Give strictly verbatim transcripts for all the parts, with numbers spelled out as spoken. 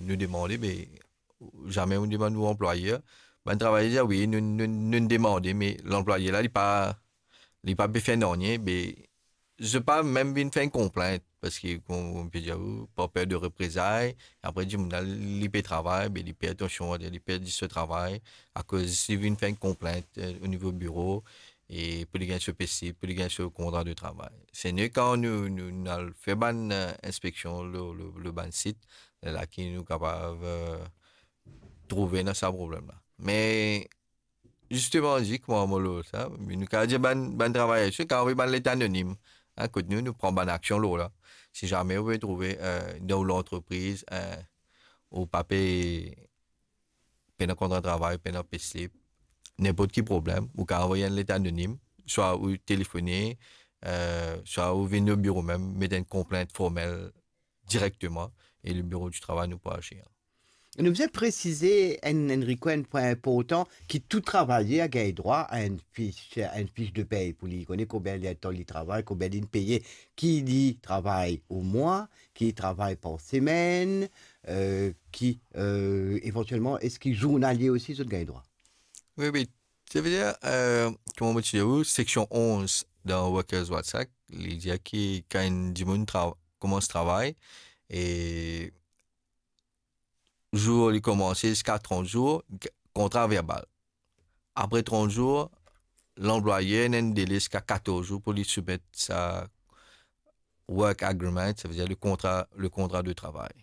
nou demande, me zame nou demann nou anplwayer. Bann travayer dir, "Wi, nou, nou, nou demande," me lanplwayer la, li pa, li pa pe fer nanye, me zot pa mem vinn fer enn konplint, parski, kouma mo pe dir ou, par per de reprezay, apre dimoun la, li pe travay, me li pe, atansion, li perdi so travay, akoz li vinn fer enn konplint, eh, o nivo biro, e pou li gagn so payslip, pou li gagn so kontra de travay. Se nou, kan nou, nou, nou al fer bann, eh, inspeksion lor, lor, lor bann sit, la ki nou kapav, eh, trouve dan sa problem la. Me, zisteman, di kouma mo lor sa, me nou kapav dir bann, bann travayer, si kapav anvoy bann let anonim, hein, kot nou, nou pran bann aksion lor la. Si zame ou pe trouve, eh, dan ou lantrepriz, eh, ou pa pe pena kontra travay, pena payslip, ninport ki problem, ou kapav anvoy enn let anonim, swa ou telefone, eh, swa ou vinn o biro mem, met enn konplint formel direkteman, e le biro di travay nou pou azir. Nou bizin presize enn, enn requirement inportan, ki tou travayer gagn drwa a enn fich, enn fich de pey pou li kone konbien letan li travay, konbien li peye, ki li travay o mwa, ki travay par semenn, eh, ki, eh, evantielman, eski zournalie osi zot gagn drwa? Wi, wi. Savedir, eh, kouma mo ti dir ou, seksion onz dan Workers Rights Act, li dir ki kan enn dimoun tra-, koumans travay, e zour li koumanse ziska trant zour, g-, kontra verbal. Apre trant zour, lanplwayer ena enn dele ziska katorz zour pou li soumet sa work agreement, savedir le kontra, le kontra de travay.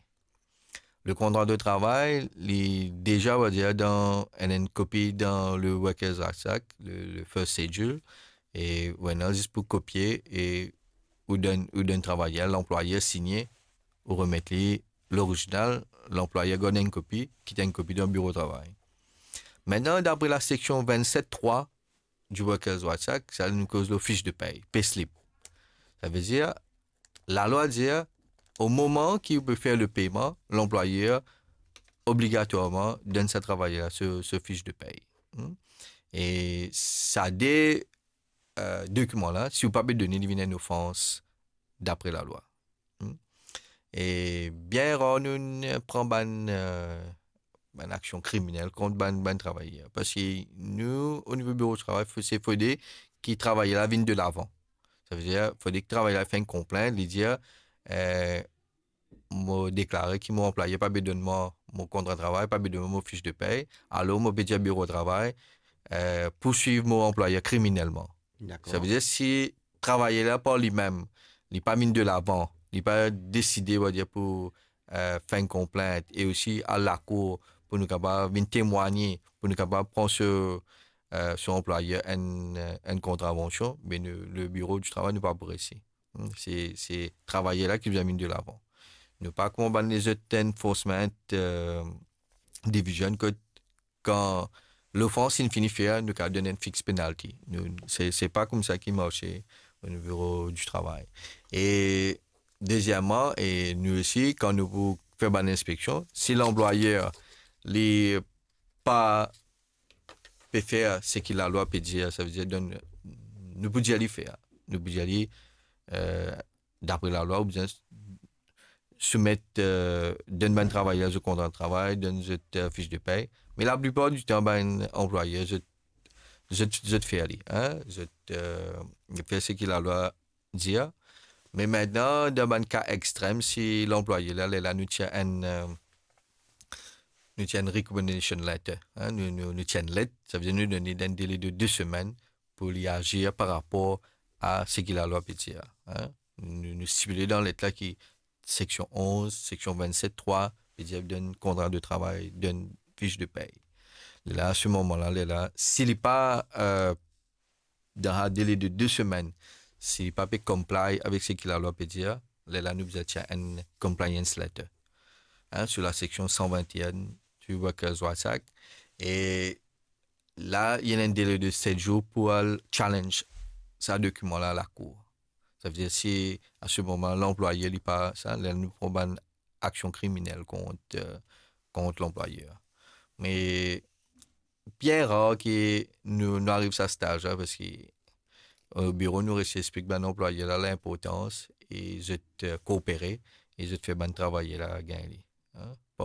Le kontra de travay, li deza, on va dir, dan, ena enn kopi dan le Workers Rights Act, le, le first schedule, e ou ena zis pou kopie e ou donn, ou donn travayer, lanplwayer signe, ou remet li lorizinal, lanplwayer gard enn kopi, kit enn kopi dan biro travay. Aster, dapre la seksion vennset trwa di Workers Rights Act, sa nou koz lor fich de pey, payslip. Savedir, lalwa dir, o moman ki ou pe fer le peyman, lanplwayer obligatwarman donn sa travayer la so, so fich de pey. Hmm? E sa de, eh, dokiman la, si ou pa pe done, li vinn enn ofans dapre lalwa. Hmm? E bien rar nou, nou pran bann, eh, bann aksion kriminel kont bann, bann travayer. Parski nou, o nivo biro travay, fo-, se fode ki travayer la vinn delavan. Savedir, fode ki travayer la fer enn konplint, li dir, eh, mo deklare ki mo anplwayer pa pe donn mwa mo kontra travay, pa pe donn mwa mo fich de pey, alor mo pe dir biro travay, eh, pouswiv mo anplwayer kriminelman. Dakor. Savedir, si travayer la par limem, li pa vinn delavan, li pa deside, on va dir, pou, eh, fer enn konplint, e osi al lakour pou nou kapav vinn temwagne, pou nou kapav pran so, eh, so anplwayer enn, eh, enn kontravansion, me nou, le biro di travay, nou pa pou resi. Hmm, se, se travayer la ki bizin vinn delavan. Nou pa kouma bann lezot enforcement, eh, division, kot kan lofans inn fini fer, nou kapav donn enn fix penalty. Nou, se, se pa koumsa ki marse o nivo di travay. E dezieman, e nou osi, kan nou pou fer bann inspeksion, si lanplwayer, li pa pe fer seki lalwa pe dir, savedir donn, nou pou dir li fer. Nou pou dir li, eh, dapre lalwa, ou bizin soumet, eh, donn bann travayer zot kontra travay, donn zot, eh, fich de pey. Me laplipar ditan, bann anplwayer, zot, zot, zot fer li, hein? Zot, eh, fer seki lalwa dir. Me aster, dan bann ka extrem, si lanplwayer la, lerla nou ti ena enn, eh, nou ti ena enn recommendation letter, hein? Nou, nou, nou ti ena enn let, savedir nou donn li enn dele de de semenn pou li azir par rapor a seki lalwa pe dir, hein? Nou, nou stipile dan let la ki seksion onz, seksion vennset trwa, pe dir donn kontra de travay, donn fich de pey. Lerla, se moman la, lerla, si li pa, eh, dan sa dele de de semenn, si li pa pe comply avek seki lalwa pe dir, lerla nou bizin tir enn compliance letter, hein, sou la seksion san vennenn di Workers Rights Act. E la, ena enn dele de set zour pou al challenge sa dokiman la lakour. Savedir si a se moman lanplwayer li pa sa, lerla nou pran bann aksion kriminel kont, eh, kont lanplwayer. Me bien rar ki nou, nou ariv sa staz la, parski o biro nou resi explik bann anplwayer la linportans e zot, eh, koopere e zot fer bann travayer la gagn li, hein.